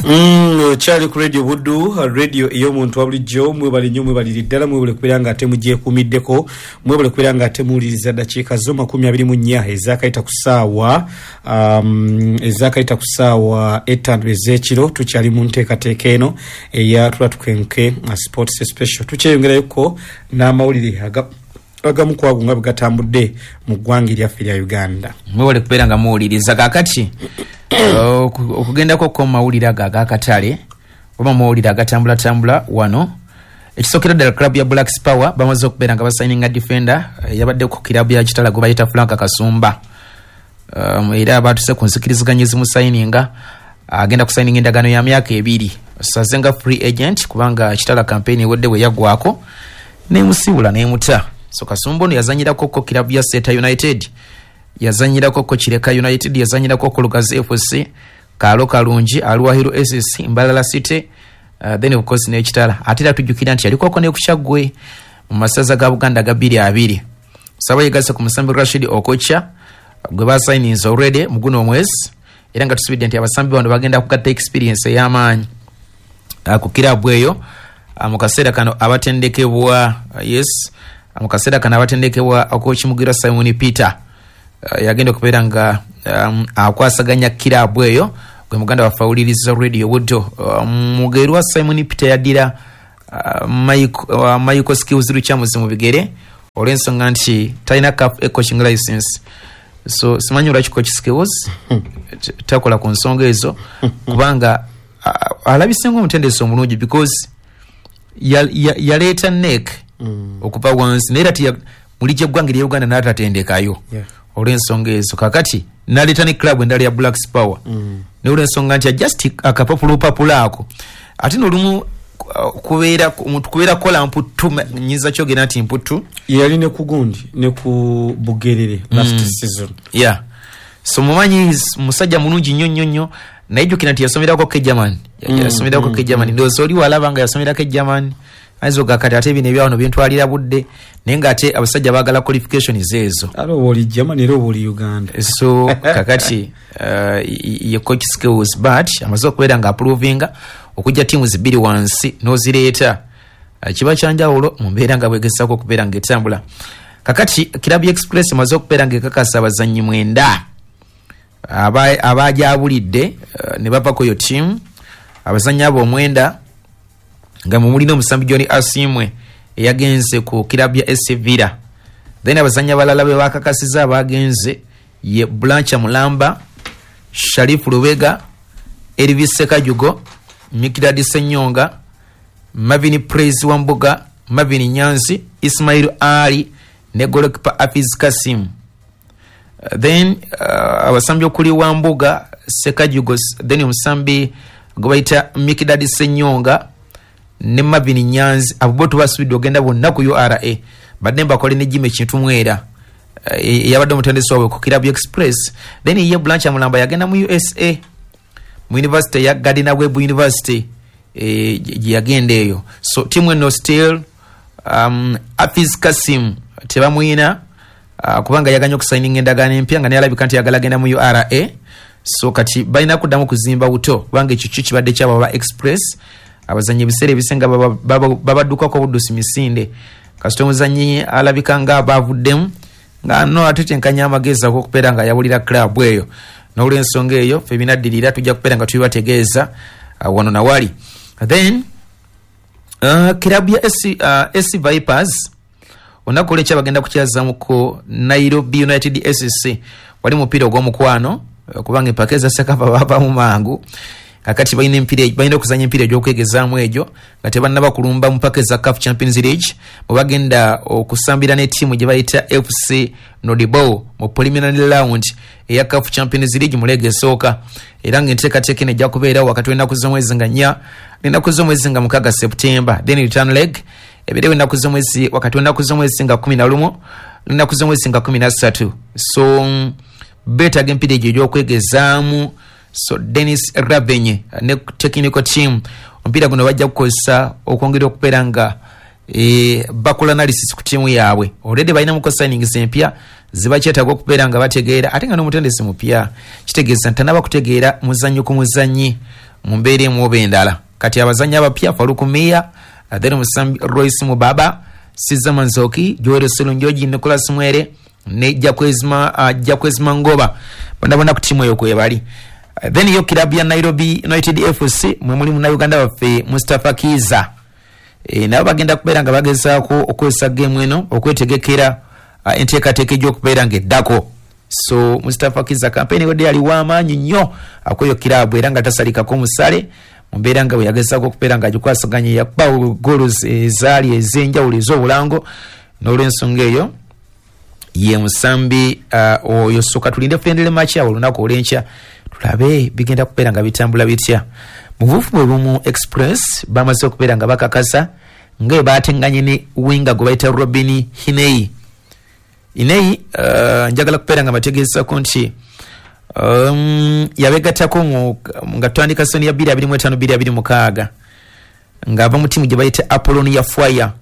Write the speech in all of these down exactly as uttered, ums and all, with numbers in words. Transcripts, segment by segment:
Mm, kyali ku Radio Buddu, radio ey'omuntu wa bulijjo. Mwebale nnyo, mwebalire ddala, mwebale kubeera nga ate mugyekuumiddeko, mwebale kubeera nga ate muwuliriza. Ddakiika zo makumi abiri mu nnya ezakayita ku ssaawa um, ezakayita ku ssaawa ettaano ez'ekiro. Tukyali mu nteekateeka eno eya Tula Tukenke Sports Special. Tukyeyongerayoko n'amawulire aga agamu kwago nga bwe gatambudde mu ggwanga eryaffe erya Uganda. Mwebale kubeera nga muwuliriza. Kakati okugendako ko mawulire ago agakatale oba mawulire agatambulatambula wano, ekisookera ddala, club ya Black Power bamaze okubeera nga basayininga defender yabadde ku kilabu ya Kitala gwe bayita Frank Kasumba. um, era batuse ku nzikiriziganya ezimusayininga, agenda kusayininga endagaano ya myaka ebiri saze nga free agent, kubanga Kitala campaign ewedde bwe yaggwako nemusiibula nemuta. So Kasumba ono yazanyirako ko kilabu ya Seta United, yazanyirako ko Kireka United, yazanyirako ko Lugazi F C, Kaalo Kalungi, Alwahiro S C, Mbalala City, uh, then of course n'Ekitala. Ate era tujjukira nti yalikoko ne ku Kyaggwe mu masaza ga Buganda ga bbiri abiri. Saba yegasse ku musambi Rashid Okocha gwe basayininze already mu guno omwezi, era nga tusubidde nti abasambi bano bagenda kugatta experience ey'amaanyi uh, ku kirabu eyo. uh, mu kaseera kano abatendekebwa, uh, yes, mu kaseera kano abatendekebwa coach Mugira Simon Peter, uh, yagenda okubeera nga um, akwasaganya kirabu eyo. Gwe muganda waffe awuliriza Radio Buddo, uh, Mugerwa Simon Peter yaddira uh, Michael, uh, Michael Skills Lukyamuzi mu bigere olw'ensonga nti talina CAF coaching license. So simanyi olwaki coach Skills takola ku nsonga ezo, kubanga uh, alabise ngaomutendesi omulungi, because yaleeta ya, ya nek mm. okuva wansi, naye era muli gyeggwanga erya Uganda n'atatendekayo Yeah. olw'ensonga ezo. Kakati naleeta ne club endala ya Black Power Mm. naye olw'ensonga nti just akapapulopapula ako, ate nolumu uh, kubeera omuntu kubeera kukola mputtu, nyinza kyogera nti mputtu. Yali ne ku gundi ne ku Bugerere last Mm. season. Yeah, so mumanyi musajja mulungi nnyo nnyo nnyo, naye jjukira nti yasomerako ke German. Mm, Yasomerako mm, ke German. Ndowooza oli walaba nga yasomerako e German, ayinza oga kati ate bino ebyawano bintwalira budde, naye ng'ate abasajja baagala qualifications ezo. Ate oba oli German era oba oli Uganda. So kakati uh, ye coach Skills, but amaze okubeera nga approvinga okujja tiimu zibiri wansi n'ozireeta, uh, kiba kyanjawulo mu mbeera nga bwegezaako okubeera ng'etambula. Kakati Club Express emaze okubeera ng'ekakasa abazannyi mwenda aba- abajabulidde uh, ne bava ku yo tiimu. Abazannyi abo omwenda nga mumulina omusambi John Asimwe eyagenze ku kilabu ya S C Villa. Then abazannyi abalala be bakakasiza abagenze ye Blancha Mulamba, Sharifu Lubega, Elvis Sekajugo, Mikidadi Senyonga, Marvin Praise Wambuga, Marvin Nyanzi, Ismail Ali ne goalkeeper Afiz Kasim. Uh, then uh, abasambi okuli Wambuga, Sekajugo, then omusambi gwe bayita Mikidadi Senyonga ne Marvin Nyanzi, abo bo tubasubidde ogenda bonna ku U R A. Badde mbakole ne Jimmy Kintu Mwera eh, eyabadde omutendesi waabwe ku Club Express. Then ye Blanche Mulamba yagenda mu U S A mu university ya Gardner Webb University, eh, gye yagenda eyo. So tiimu eno still um, Afiz Kasim tebamwina, uh, kubanga yaganye okusayininga endagaano empya nga naye alabika nti yagala genda mu U R A. So kati balina kuddamu kuzimba buto, kubanga ekyo kyo kibadde kyabo aba Express. Abazannyi ebiseera ebisinga baba- baba- babaddukako buddusi misinde. Kasita omuzannyi alabika nga bavuddemu nga no atetenkanya amagezi ag'okubeera nga yawulira club eyo. N'olwensonga eyo, ffe binaddirira tujja kubeera nga tubibategeeza uh, wano nawali. Then uh, club ya S C, uh, S C Vipers olunaku olwekya bagenda kukyazamuko Nairobi United S C. Wali mupiira ogw'omukwano, eh, kubanga empaka eza CECAFA bavamu mangu. Kakati balina empiira, balina okuzanya empiira egy'okwegezaamu egyo nga tebannaba kulumba mu mpaka eza CAF Champions League, bwe bagenda okusambira ne ttiimu gye bayita F C Nouadhibou mu preliminary round eya CAF Champions League mu leega esooka. Era ng'enteekateeka eno ejja kubeerawo wakati w'ennaku z'omwezi nga nnya n'ennaku z'omwezi nga mukaaga September. Then return leg ebeerewo ennaku z'omwezi wakati w'ennaku z'omwezi nga kumi na lumu n'ennaku z'omwezi nga kumi na ssatu. So mm, beetaaga empiira egyo egy'okwegezaamu. So Dennis Rabenye ne technical team, omupiira guno bajja kukozesa okwongera okubeera nga e, bakola analysis ku tiimu yaabwe. Already balinamuko signings empya zibakyetaaga okubeera nga bategeera, ate nga n'omutendesi mupya, kitegeeza nti tanaba kutegeera muzannyo ku muzannyi. mu mbeera emu oba endala. Kati abazannyi abapya Faruku Miya, then omusambi Royce Mubaba, Siza Manzoki, Joel Serunjogi, Nicholas Mwere ne Jakwezima uh, Jakwezima Ngoba bonna bonna ku ttiimu eyo kwe bali. Uh, then yo kirabu ya Nairobi United F C mwe muli munnayuganda waffe Mustafa Kiza. E, nabo bagenda kubeera nga bagezaako okukozesa geemu eno okwetegekera uh, enteekateeka egy'okubeera ng'eddako. So Mustafa Kiza kampeyini ewedde yali w'amaanyi nnyo akweyo kirabu era nga tasalikako musale mu mbeera nga bwe yagezaako okubeera ng'agikwasaganya, yakuba goals ezaali ez'enjawulo ez'obulango. N'olw'ensonga eyo ye musambi uh, oyo. Soka tulinde friendly match awo olunaku olw'enkya tulabe bigenda kubeera nga bitambula bitya. Mu buvufu bwe bumu Express bamaze okubeera nga bakakasa nga bwe baatenganye ne winga gwe bayita Robin Hinei. Hinei uh, njagala kubeera nga bategeezako nti um, yabegattako mu nga tutandika soni ya bbiri abiri mu etaano bbiri abiri mukaaga ng'ava mu ttiimu gye bayita Apollonia Foyer,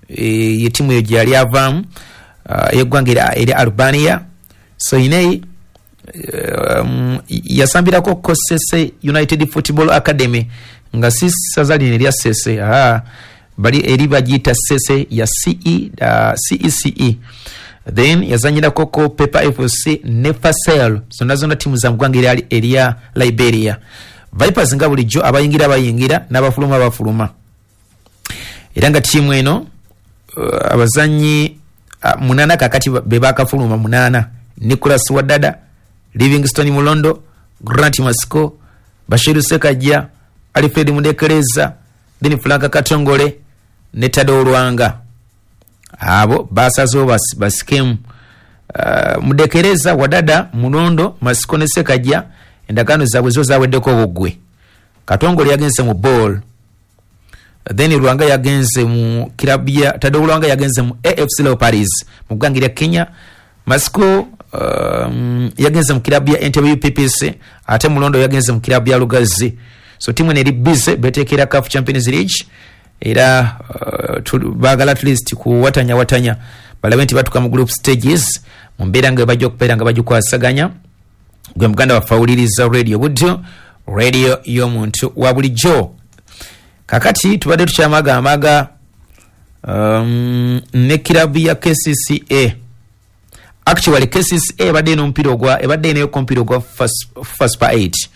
e, ye ttiimu eyo gye yali avaamu uh, ey'eggwanga erya erya Albania. So Hinei um, yasambirako Kosese United Football Academy nga si ssaza lino erya Sese, ah, bali eri bagiyita Sese ya C E, uh, C E C E. Then yazanyirako ko Pepa F C ne Fasel, zonna zonna ttiimu za mu ggwanga erya, erya Liberia. Vipers nga bulijjo abayingira bayingira n'abafuluma bafuluma, era nga ttiimu eno uh, abazannyi uh, munaana kakati be bakafuluma munaana: Nicholas Wadada, Livingstone Mulondo, Grant Masiko, Bashiru Sekajja, Alfred Mudekereza, then Frank Katongole ne Tado Olwanga. Abo basazeewo bas, basikemu. Uh, Mudekereza, Wadada, Mulondo, Masiko ne Sekajja endagaano zaabwe zo zaweddeko obuggwe. Katongole yagenze mu ball, then Lwanga yagenze mu kilabu ya Tado Lwanga yagenze mu A F C Leopards mu ggwanga erya Kenya. Masiko um, yagenze mu kilabu ya Entebbe U P P C, ate Mulondo yagenze mu kilabu ya Lugazi. So timu eno eri busy beteekera C A F Champions League era uh, baagala at least kuwatanya watanya balabe nti batuuka mu group stages mu mbeera nga bajja okubeera nga bagikwasaganya. Gwe muganda waffe awuliriza Radio Buddo, radio y'omuntu wa bulijjo. Kakati tubadde tukyamagamaga um, ne kirabu ya K C C A. Actually K C C A ebadde n'omupiira ogwa ebadde eneyo omupiira ogwa first per eight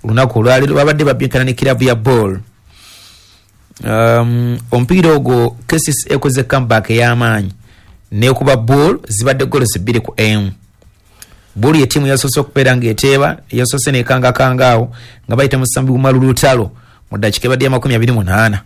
olunaku olwaleero babadde babbinkana ne kirabu ya ball. Um, omupiira ogwo K C C A ekoze comeback ey'amaanyi nekuba ball zibadde goals bbiri ku emu. Ball ye ttiimu yasoose okubeera ng'eteeba, yasoose nekangakanga awo nga bayita musambi Umaru Lutalo mu ddakiika ebadde ya makumi abiri munaana.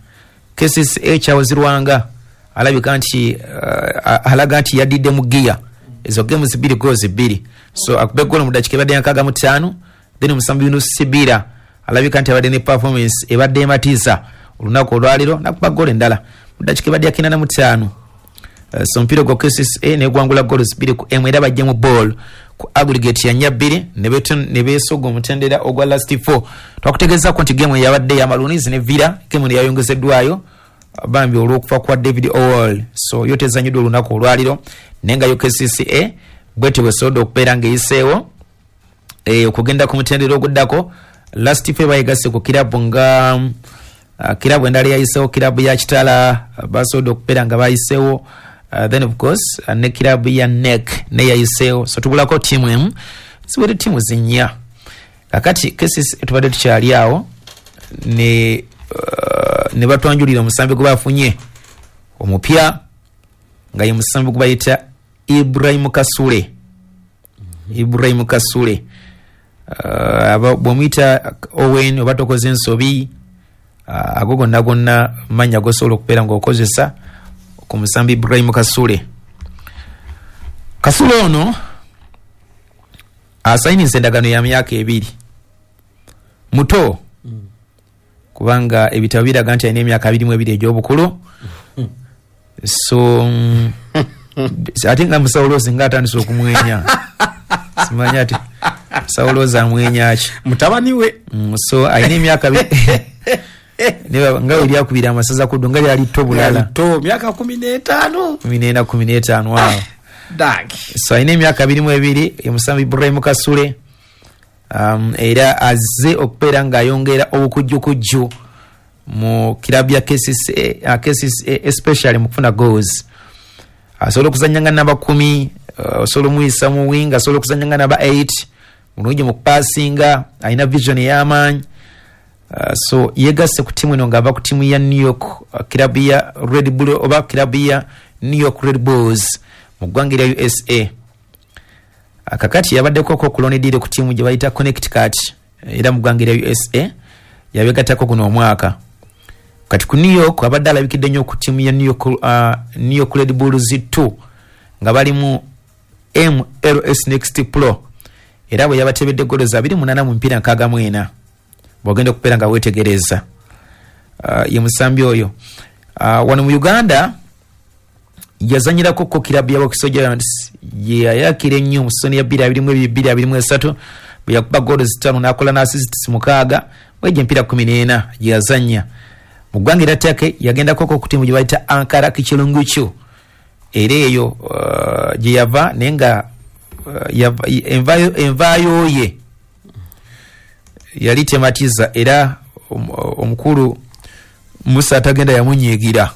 K C C A Charles Lwanga alabika nti uh, alaga nti yaddidde mu giya ezo games bbiri goals bbiri, so akube goal mu ddakiika ebadde ya nkaaga mu ttaano. Then omusambi Yunus Sibira alabika nti abadde ne performance ebadde ematiza olunaku olwaleero nakuba goal endala mu ddakiika ebadde ya kinaana mu ttaano. Uh, so omupiira gwa K C C A negwangula goals bbiri ku emu era bajje mu ball ku aggregate ya nnya bbiri ne beesoga omutendera ogwa last four. Twakutegeezaako nti game yabadde ya Maroons ne Villa, game yayongezeddwayo bambi olw'okufa kwa David Owell, so yo tezanyiddwa olunaku olwaleero. Naye nga yo K C C A bwetyo bwesobodde okubeera ng'eyiseewo e, okugenda ku mutendera oguddako. Last four bayegasse ku kirabu nga uh, kirabu endala yayiseewo, kirabu ya Kitala basobodde okubeera nga bayiseewo. Uh, then of course uh, ne kirabu ya N E C ne yayiseewo. So tubulako ttiimu emu, ziwere ttiimu zinnya. Kakati K C C A tubadde tukyali awo ne uh, ne batwanjulira omusambi gwe bafunye omupya nga ye musambi gwe bayita Ibrahim Kasule. Ibrahim Kasule uh, bw'omuyita Owen oba tokoze ensobi, uh, ago gonna gonna mannya gosobola okubeera ng'okozesa ku musambi Ibrahim Kasule. Kasule ono asayiniza endagaano ya myaka ebiri, muto mm. kubanga ebitabo biraga nti alina emyaka abiri mu ebiri egy'obukulu. So mm, ate nga Musawulozi nga atandise okumwenya simanyi ati Musawulozi amwenya ki mutabani we. Mm, so alina emyaka nga we lyakubira amasaza kuddu nga lyali tto bulala to myaka kumi n'etaano kumi n'ena kumi n'etaano awo dag. So alina emyaka abiri mu ebiri ye musambi Ibrahim Kasule um, era azze okubeera ng'ayongera obukujjukujju mu kirabu ya K C C A, K C C A, especially mu kufuna goals. Asobola okuzanya nga namba kumi, uh, osobola omuyisa mu wing, asobola okuzanya nga namba eight, mulungi mu kupasinga, alina vision ey'amaanyi. Uh, so yegasse ku tiimu eno ng'ava ku tiimu ya New York, uh, kirabu ya Red Bull oba kirabu ya New York Red Bulls mu ggwanga erya U S A. Uh, kakati yabaddeko ku loan deal ku tiimu gye bayita Connecticut era mu ggwanga erya U S A, yabegattako guno omwaka. Kati ku New York abadde alabikidde nnyo ku tiimu ya New York, uh, New York Red Bulls two nga bali mu M L S Next Pro, era bwe yabatebedde golo za abiri munaana mu mipiira nkaaga mu ena. Bw'ogenda okubeera nga weetegereza, uh, ye musambi oyo. uh, wano mu Uganda yazanyirako ko kirabu ya Wakiso Giants, yeyayakira ennyo mu season ya twenty twenty-two twenty twenty-three bwe yakuba golo zitaano n'akola n'assists mukaaga mwegyo emipiira kumi n'ena gye yazannya. Mu ggwanga erya Turkey yagendako ku tiimu gye bayita Ankara Kichilunguchu, era eyo uh, gye yava, naye nga uh, yava- envaayo envaayo ye yali tematiza, era om- omukulu Musa atagenda yamunyiigira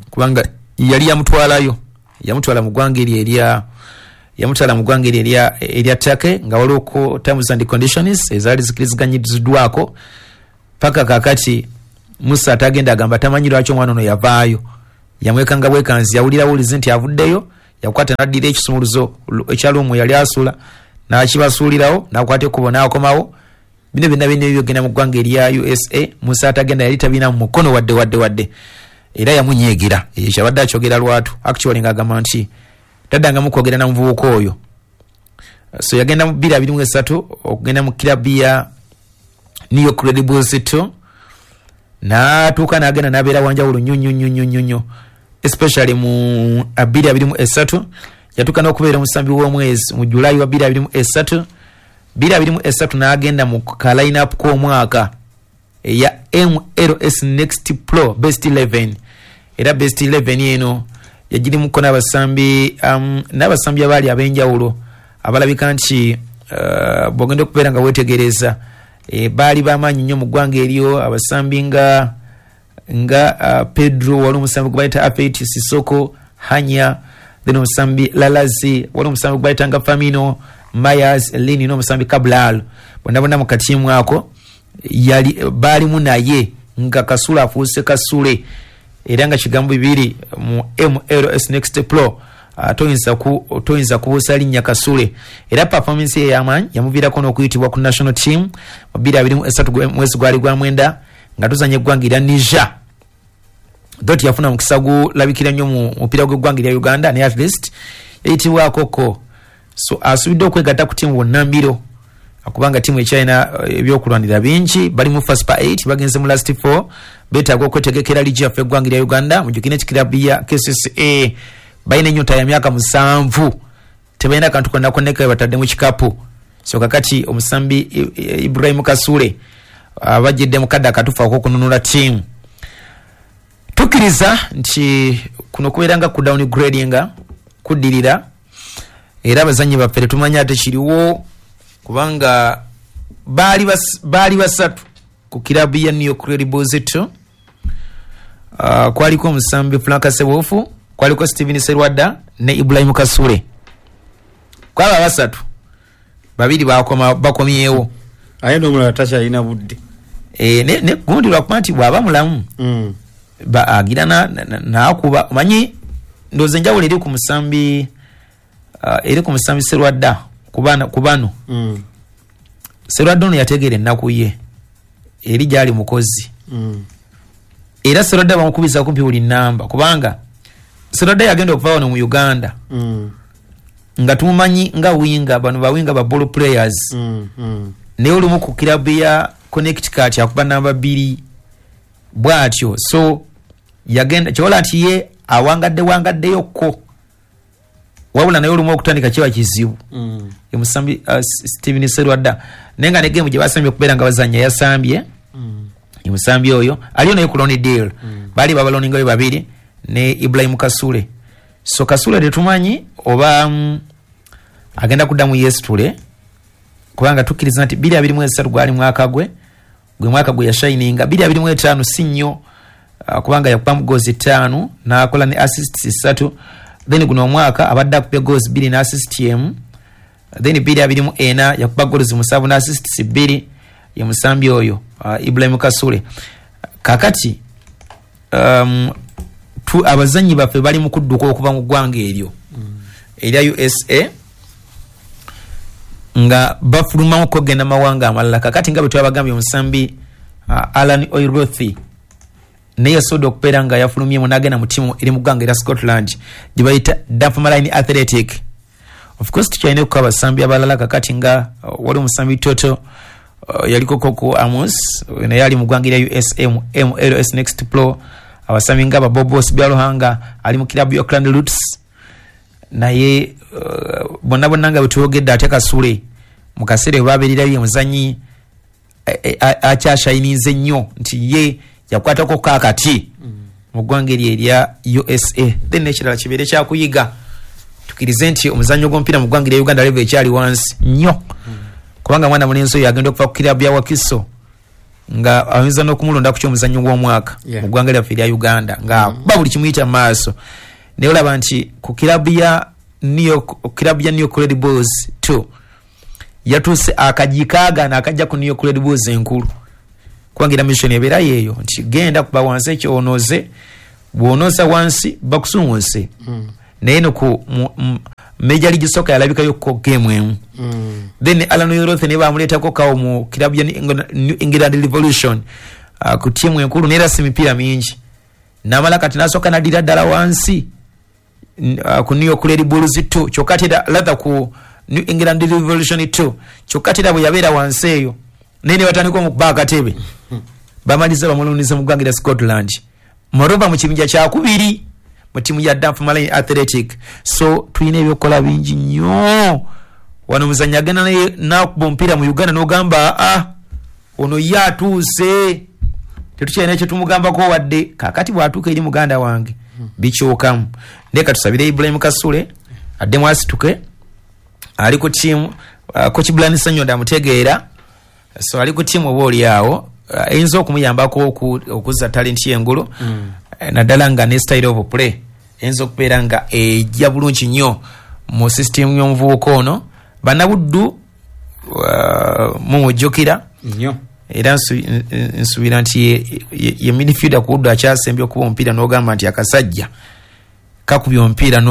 kubanga yali yamutwalayo, yamutwala mu ggwanga eryo erya yamutwala mu ggwanga eryo erya erya Turkey nga waliwo terms and conditions ezaali zikiriziganyiziddwako. Paka kakati Musa atagenda agamba tamanyi lwaki omwana ono yavaayo, yamwekanga bwekanzi, yawulira wulizi nti avuddeyo, yakwata naddira ekisumuluzo ekyalumu yali asula nakibasuulirawo, nakwata ekkubo nakomawo. Bino byonna byonna ebyogenda mu ggwanga erya U S A, Musa atagenda yali tabina mu mukono wadde wadde wadde, era yamunyiigira. Ekyo kyabadde akyogera lwatu actually ng'agamba nti taddangamu kwogera na muvubuka oyo. So yagenda mu bbiri abiri mu esatu okugenda mu kirabu ya New York Red Bulls two, n'atuuka n'agenda n'abeera wanjawulo nnyo nnyo nnyo nnyo nnyo nnyo, especially mu bbiri abiri mu esatu yatuuka n'okubeera omusambi w'omwezi mu Julayi wa bbiri abiri mu esatu. Bbiri abiri mu esatu n'agenda mu ka line-up k'omwaka eya M L S Next Pro Best eleven, era Best eleven eno yagirimuko n'abasambi um, n'abasambi abaali ab'enjawulo abalabika nti uh, bw'ogenda okubeera nga weetegereza, e, baali bamaanyi nnyo mu ggwanga eryo, abasambi nga nga uh, Pedro, wali omusambi gwe bayita Afet Sisoko Hanya, then omusambi Lalazi, wali omusambi gwe bayita nga Famino Myers Lini n'omusambi Cabral, bonna bonna mu katiimu ako yali baalimu, naye nga Kasule afuuse Kasule, era nga kigambo bibiri mu M L S Next Pro, uh, toyinza ku toyinza kubuusa linnya Kasule. Era performance ye ey'amaanyi yamuviirako n'okuyitibwa ku national team mu bbiri abiri mu esatu, mwezi gwali gwa mwenda nga tuzanya eggwanga erya Niger. Dot yafuna mukisa gulabikira nnyo mu mupiira gw'eggwanga erya Uganda, naye at least yayitibwako ko. So asubidde okwegatta ku tiimu bonna mbiro kubanga tiimu ekyalina eh, ebyokulwanira bingi. Bali mu first pa eight, bagenze mu last four, beetaaga okwetegekera liigi yaffe eggwanga erya Uganda. Mujjukire ekirabu ya K C C A balina ennyota ya myaka musanvu, tebalina kantu konna konna ke batadde mu kikapu. So kakati omusambi I- I- Ibrahim Kasule abajjidde mu kadde akatuufu ak'okununula ttiimu. Tukkiriza nti kuno kubeera nga ku downgradinga kuddirira, era abazannyi baffe tetumanyi ate kiriwo kubanga baali bas- baali basatu ku kirabu ya New York Red Bulls two. uh, kwaliko omusambi Frank Sebufu, kwaliko Steven Serwadda ne Ibrahim Kasule. Kwaba basatu, babiri bakoma bakomyewo. Aye n'omulala takyalina budde. e, ne, ne gundi lwakuba nti bw'aba mulamu Mm. ba- agira na- na- n'akuba, omanyi ndowooza enjawulo eri ku musambi uh, eri ku musambi Serwadda ku bano- ku bano Mm. Serwadda ono yategeera ennaku ye eri gyali mukozi, Mm. era Serwadda bamukubiza kumpi buli namba kubanga Serwadda yagenda okuva wano mu Uganda Mm. nga tumumanyi nga winger, bano bawinga ba ball players, Mm. Mm. naye olumu ku kirabu ya Connecticut akuba namba bbiri bw'atyo. So yagenda kyobola nti ye awangadde wangaddeyokko, wabula naye olumu okutandika kiba kizibu. Mm. Omusambi uh, Steven Serwadda, naye nga ne game gye basambye okubeera nga bazanya yasambye. Mm. Omusambi oyo aliyo naye ku loan deal, baali babaloningayo babiri ne Ibrahim Kasule. So Kasule tetumanyi oba mm, agenda kuddamu yesitule Kubanga tukkiriza nti bbiri abiri mu esatu gwali mwaka gwe, gwe mwaka gwe yashininga. Bbiri abiri mu etaano si nnyo, uh, kubanga yakubamu goals ttaano n'akola ne assists ssatu. Then guno omwaka abadde akubye goals bbiri ne assist emu. Then bbiri abiri mu ena yakuba goals musanvu ne assists bbiri. Ye musambi oyo uh, Ibrahim Kasule. Kakati um, tu, abazannyi baffe bali mu kudduka okuva mu ggwanga eryo mm. erya U S A, nga bafulumamu okugenda mawanga amalala. Kakati nga bwe twabagambye, omusambi uh, Alan Oirothi naye yasobodde okubeera nga yafulumyemu n'agenda mu ttiimu eri mu ggwanga erya Scotland gye bayita Dunfermline Athletic. Of course tukyalina okuba abasambi abalala. Kakati nga uh, wali omusambi Toto uh, yaliko Koko Amos, naye ali mu ggwanga erya U S A mu M L S Next Pro. Abasambi nga Babobos Byaluhanga ali mu kilabu ya Auckland Roots, naye uh, bonna bonna nga bwe twogedde, ate Kasule mu kaseera we babeererayo ye muzannyi akyashayinize nnyo nti ye yakwatako kaakati mu ggwanga eryo erya U S A. Then n'ekirala kibeere kyakuyiga, tukirize nti omuzannyo gw'omupiira mu ggwanga erya Uganda level ekyali wansi nnyo, kubanga mwana mulenzi oyo agenda okuva ku kilabu ya Wakiso nga ayinza n'okumulonda ku ky'omuzannyo gw'omwaka mu ggwanga lyaffe erya Uganda, nga ba buli kimuyita mu maaso. Naye olaba nti ku kilabu ya New York, kilabu ya New York Red Bulls two yatuuse akajikaagaana akajja ku New York Red Bulls enkulu, kubanga era mission ebeera yeeyo nti genda kuba wansi ekyonoze, bw'onoza wansi bakusunwuse. Mm. Naye no ku Major League Soccer yalabikayo ko game emu. Mm. Then Alan Oirothi ne bamuleetako kawo mu kilabu ya New England Revolution uh, ku tiimu enkulu, n'era si mipiira mingi. N'amala kati n'asooka n'addira ddala wansi uh, ku New York Red Bulls two, kyokka ate rather ku New England Revolution two, kyokka ate era bwe yabeera wansi eyo naye ne batandika omukuba akatebe, bamaliza bamuluniza mu ggwanga erya Scotland, Moreover mu kibinja kyakubiri mu ttiimu ya Dunfermline Athletic. So tulina ebyokukola bingi nnyo. Wano omuzannyi agenda naye n'akuba omupiira mu Uganda n'ogamba ah, ono ye atuuse, tetukyalina kye tumugambako wadde. Kaakati bw'atuuka eri muganda wange bikyukamu. Naye katusabire Ibrahim Kasule addemu asituke, ali ku ttiimu uh, Coach Brian Ssenyondo amutegeera, so ali ku ttiimu oba oli awo eyinza uh, okumuyambako okuzza talenti y'engulu, mm. naddala nga ne style of play eyinza okubeera nga ejja bulungi nnyo mu system y'omuvubuka ono. Bannabuddu uh, mumujjukira nnyo, era nsuubira nti ye, ye, ye midfielder ku Buddu akyasembye okuba omupiira n'ogamba nti akasajja kakubye omupiira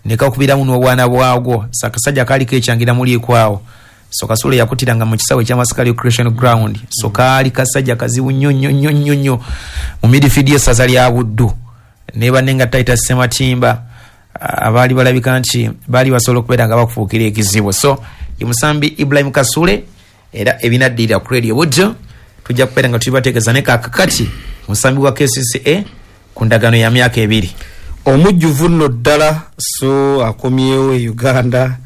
ne kakubiramu n'obwana bwagwo. So akasajja kaaliko ekyangira muliiko awo. So Kasule yakutiranga mu kisaawe ekya Masaka Recreation Ground. So kaali kasajja kazibu nnyo nnyo nnyo nnyo nnyo mu midfield y'essaza lya Buddu. Ne banne nga Titus Sematimba abaali balabika nti baali basobola okubeera nga bakufuukira ekizibu. So ye musambi Ibrahim Kasule, era ebinaddirira ku Radio Buddu tujja kubeera nga tubibategeeza. Ne kaakati musambi wa K C C A ku ndagaano ya myaka ebiri. Omujjuvu nno ddala, so akomyewo e Uganda.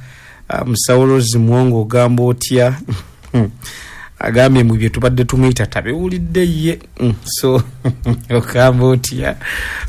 Musawulozi Mwongo ogamba otya? Agambye mu bye tubadde tumuyita tabiwulidde ye. So ogamba otya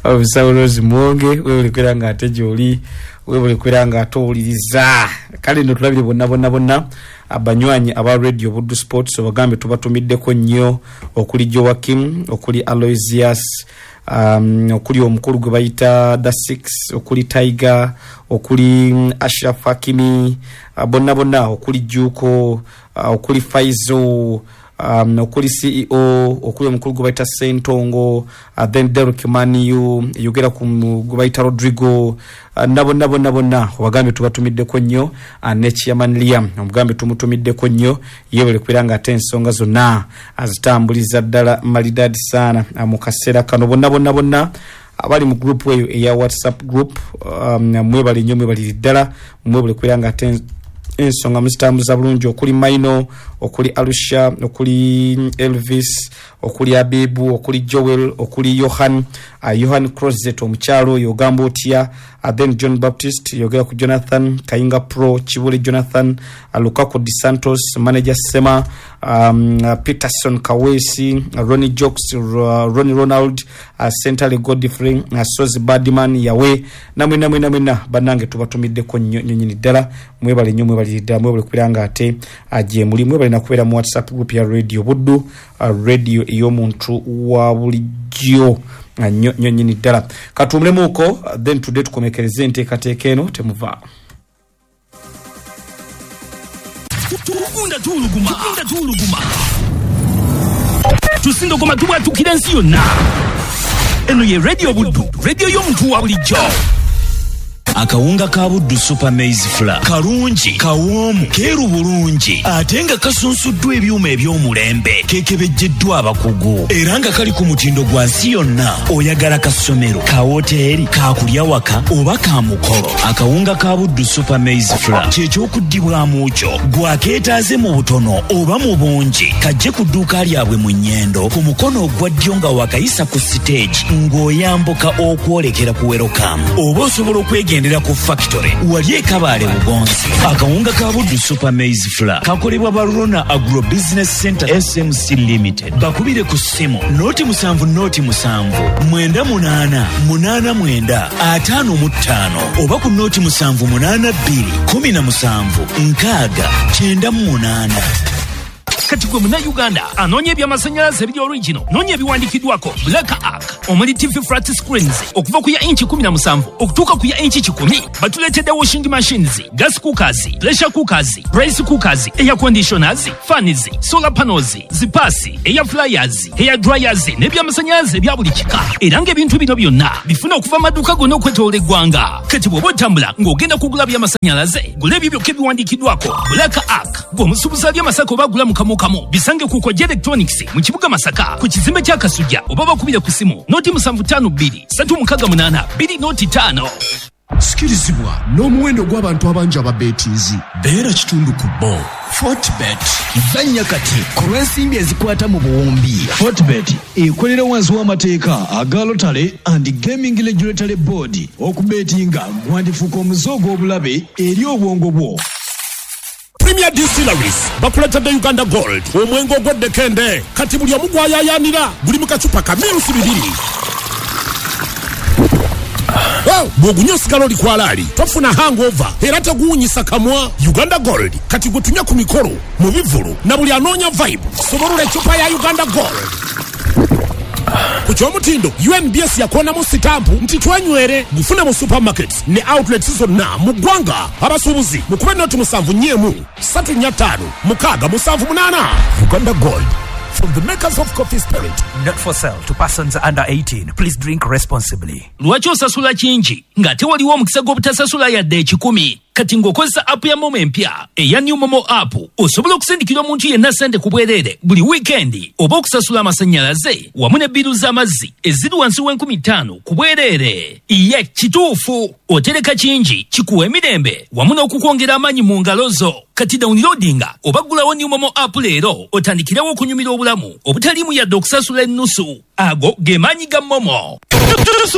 Musawulozi Mwonge? Weebale kubeera nga ate gy'oli, weebale kubeera nga ate owuliriza. Kale nno tulabire bonna bonna bonna abanywanyi aba Radio Buddu Sports, obagambe tubatumiddeko nnyo, okuli Joakim, okuli Aloysius, um, okuli omukulu gwe bayita The Six, okuli Tiger, okuli Ashraf Hakimi, uh, bonna bonna, okuli Juko, uh, okuli Faizo, um, okuli C E O, okuli omukulu gwe bayita Sentongo, uh, then Derek Maniu, yogera ku gwe bayita Rodrigo, uh, nabo nabo nabo bonna obagambe tubatumiddeko nnyo. uh, ne Chairman Liam omugambe tumutumiddeko nnyo, yebale kubeera nga ate ensonga zonna azitambuliza ddala malidadi sana mu kaseera kano. Bonna bonna bonna abali mu group eyo eya WhatsApp group, um, mwebale nnyo, mwebalire ddala, mwebale kubeera nga ate ensonga muzitambuza bulungi, okuli Maino, okuli Alusha, okuli Elvis, Okuli Abibu, okuli Joel, okuli Johan, uh, Johan Crozet omukyalo oyo ogamba otya, uh, then John Baptist, yogera ku Jonathan Kayinga Pro, Kibuli Jonathan, uh, Lukaku Di Santos, manager Sema, um, uh, Peterson Kawesi, uh, Ronnie Jokes, uh, Ronnie Ronald, uh, Sentale Godfrey, uh, Sozi Badman Yawe, namwe namwe namwe na bannange tubatumiddeko nnyo nnyo nnyini ddala. Mwebale nnyo, mwebale ddala, mwebale kubeera nga ate gye muli, mwebale nakubeera mu WhatsApp group ya Radio Buddu, uh, radio ey'omuntu wa bulijjo nnyo nnyo nnyini ddala. Katuwumulemuko, then today tukomekereze enteekateeka eno, temuva. Tugunda tuwuluguma, tugunda tuwuluguma, tusindogoma tubwatukira ensi yonna. Eno ye Radio Buddu, radio y'omuntu wa bulijjo. Akawunga ka Buddu Super Maize Flour kalungi, kawoomu, keeru bulungi, ate nga kasunsuddwa ebyuma eby'omulembe, kekebejjeddwa abakugu, era nga kali ku mutindo gwa nsi yonna. Oyagala kasomero, ka woteeri, kakulya waka oba ka mukolo, akawunga ka Buddu Super Maize Flour kyekyokuddibwamu kyo. Gwakeetaaze mu butono oba mu bungi, kajje ku dduuka lyabwe mu Nnyendo ku mukono ogwa ddyo nga wakayisa ku siteegi ng'oyambuka okwolekera ku Welcome, oba osobola okwegenda ku factory wali ekabaale Bugonzi. Akawunga ka Buddu Super Maize Flour kakolebwa Barona Agro Business Center S M C Limited. Bakubire ku ssimu noti musanvu noti musanvu mwenda munaana munaana mwenda ataano mu ttaano oba ku noti musanvu munaana bbiri kumi na musanvu nkaaga kyenda mu munaana. Kati gwe munnayuganda anoonya ebyamasannyalaze ebiri original, noonya ebiwandiikiddwako Black Ark, omuli T V flat screens okuva ku ya inchi kumi na musanvu okutuuka ku ya inchi kikumi. Batuleetedde washing machines, gas cookers, pressure cookers, rice cookers, air conditioners, fans, solar panels, zipasi, air fryers, hair dryers n'ebyamasannyalaze ebya buli kika. Era ng'ebintu bino byonna bifuna okuva mu maduuka gonna okwetooloola eggwanga. Kati bw'oba otambula ng'ogenda kugula byamasannyalaze, gula ebyo byokka ebiwandiikiddwako Black Ark. Gwe omusuubuzi ali Masaka oba agula mu kamu kamu, bisange ku Kojja Electronics mu kibuga Masaka ku kizimbe kya Kasujja, oba bakubire ku simu noti musanvu ttaano bbiri ssatu mukaaga munaana bbiri noti ttaano. Sikirizibwa n'omuwendo gw'abantu abangi ababeetiizi, beera kitundu ku bo. Fortbet zannya kati ku lw'ensimbi ezikwata mu buwumbi. Fortbet ekolera wansi w'amateeka aga Lottery and Gaming Regulatory Board. Okubeetinga gwandifuuka omuze ogw'obulabe eri obwongo bwo. Premier Distilleries bakuletedde Uganda Gold, omwenge ogw'eddekende kati buli omu gwayayaanira, guli mu kacupa ka mirusi bibiri. Bw'ogunywa osigala oli kwalaali, tofuna hangover era teguwunyisa kamwa. Uganda Gold kati gwe tunywa ku mikolo, mu bivvulu na buli anoonya vibe. Sobolula eccupa ya Uganda Gold. Ku ky'omutindo U N B S yakoonamu sitampu nti twenywere. Gufune mu supermarkets ne outlets zonna mu ggwanga. Abasuubuzi mukube noti musanvu nnya emu ssatu nnya ttaano mukaaga musanvu munaana. Uganda Gold, from the makers of Coffee Spirit. Not for sale to persons under eighteen. Please drink responsibly. Lwaki osasula kingi ng'ate waliwo omukisa gw'obutasasula yadde ekikumi? Kati ng'okozesa app ya Momo empya eya New Momo app, osobola okusindikira omuntu yenna ssente ku bwereere buli wiikendi, oba okusasula amasannyalaze wamu ne bbiru z'amazzi eziri wansi w'enkumi ttaano ku bwereere. Ye kituufu, otereka kingi kikuwa emirembe wamu n'okukwongera amaanyi mu ngalo zo. Kati downloadinga oba ggulawo New Momo app leero otandikirewo okunyumira obulamu obutaliimu yadde okusasula ennusu. Ago ge maanyi ga Momo.